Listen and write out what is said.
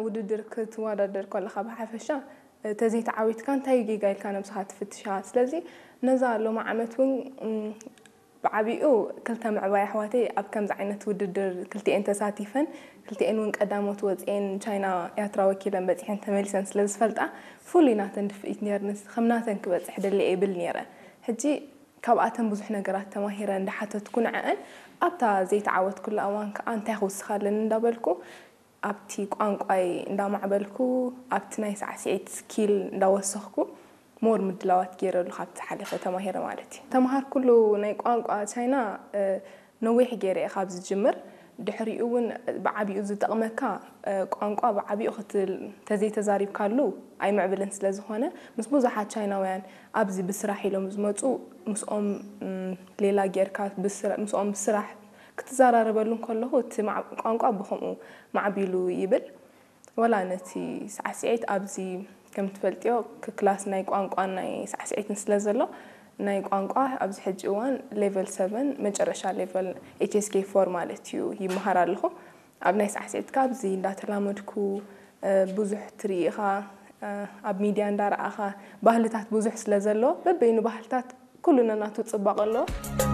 ውድድር ክትወዳደር ከለኻ ብሓፈሻ ተዘይተዓዊትካ እንታይ ጌጋ ኢልካ ነብስኻ ትፍትሻ። ስለዚ ነዛ ሎሚ ዓመት እውን ብዓቢኡ ክልተ ምዕባይ ኣሕዋተይ ኣብ ከምዚ ዓይነት ውድድር ክልቲኤን ተሳቲፈን፣ ክልቲኤን እውን ቀዳሞት ወፅኤን ቻይና ያትራ ወኪለን በፂሐን ተመሊሰን ስለ ዝፈልጣ፣ ፍሉይ ናተን ድፍኢት ነርንስ ከም ናተን ክበፅሕ ደልየ ይብል ነይረ። ሕጂ ካብኣተን ብዙሕ ነገራት ተማሂረ እንዳሓተትኩ ንዐአን ኣብታ ዘይተዓወትኩላ እዋን ከዓ እንታይ ክውስኻለን እንዳበልኩ ኣብቲ ቋንቋይ እንዳማዕበልኩ ኣብቲ ናይ ሳዕስዒት ስኪል እንዳወሰኽኩ ሞር ምድላዋት ገይረሉ ካብቲ ሓሊፈ ተማሂረ ማለት እዩ። ተምሃርኩሉ ናይ ቋንቋ ቻይና ነዊሕ ገይረ እየ ካብ ዝጅምር። ድሕሪኡ እውን ብዓቢኡ ዝጠቕመካ ቋንቋ ብዓቢኡ ክትል ተዘይተዛሪብካሉ ኣይምዕብልን ስለ ዝኾነ ምስ ብዙሓት ቻይናውያን ኣብዚ ብስራሕ ኢሎም ዝመፁ ምስኦም ሌላ ጌርካ ምስኦም ብስራሕ ክትዘራረበሉ እንከለኹ እቲ ቋንቋ ብኸምኡ ማዕቢሉ ይብል። ወላ ነቲ ሳዕስዒት ኣብዚ ከም ትፈልጥዮ ክላስ ናይ ቋንቋን ናይ ሳዕስዒትን ስለ ዘሎ ናይ ቋንቋ ኣብዚ ሕጂ እዋን ሌቨል ሰቨን መጨረሻ ሌቨል ኤች ኤስ ኬ ፎር ማለት እዩ ይመሃር ኣለኹ። ኣብ ናይ ሳዕስዒት ካብዚ እንዳተላመድኩ ብዙሕ ትርኢ ኢኻ፣ ኣብ ሚድያ እንዳረኣኻ ባህልታት ብዙሕ ስለ ዘሎ በበይኑ ባህልታት ኩሉ ነናቱ ፅባቐ ኣለዎ።